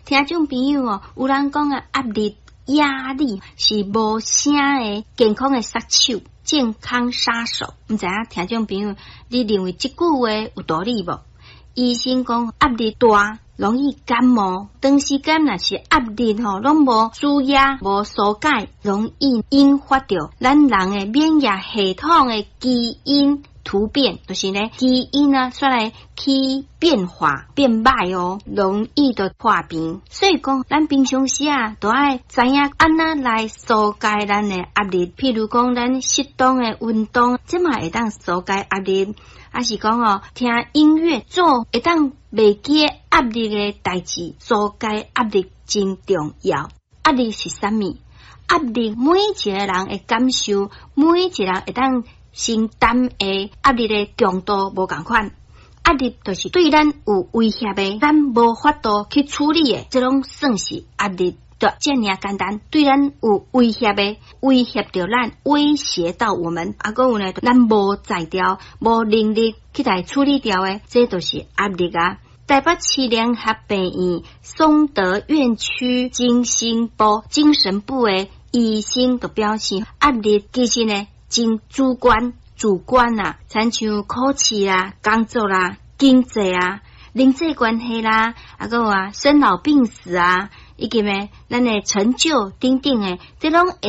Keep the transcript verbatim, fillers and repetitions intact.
聽眾朋友哦，有人講啊，壓力壓力是無聲的健康的殺手，健康殺手。毋知影聽眾朋友，你認為這句話有道理無？醫生講壓力大，容易感冒，長時間若是壓力吼，攏無舒壓、無疏解，容易引發著咱人的免疫系統的基因突變，就是呢基因啊，煞來去變化變歹哦，容易就破病。所以講，咱平常時啊，都愛知影按怎來疏解咱的壓力。譬如講，咱適當的運動，這嘛會當疏解壓力。抑是講哦，聽音樂做會當袂記壓力的代誌，疏解壓力真重要。壓力是啥物？壓力每一個人的感受，每一個人會當承擔的壓力的強度無仝款。壓力就是對咱有威脅的，咱無法度去處理的，這攏算是壓力。就遮爾簡單，對咱有威脅的，威脅著咱，威脅到我們。啊，閣有呢，咱無才調、無能力去來處理掉的，這就是壓力啊。台北市聯合病院松德院區精神部精神部的醫生就表示，壓力其實呢真主觀，主觀啊，親像考試啦、工作啦、經濟啊、人際關係啦，啊，閣有啊，生老病死啊，以及呢，咱的成就等等的，這攏會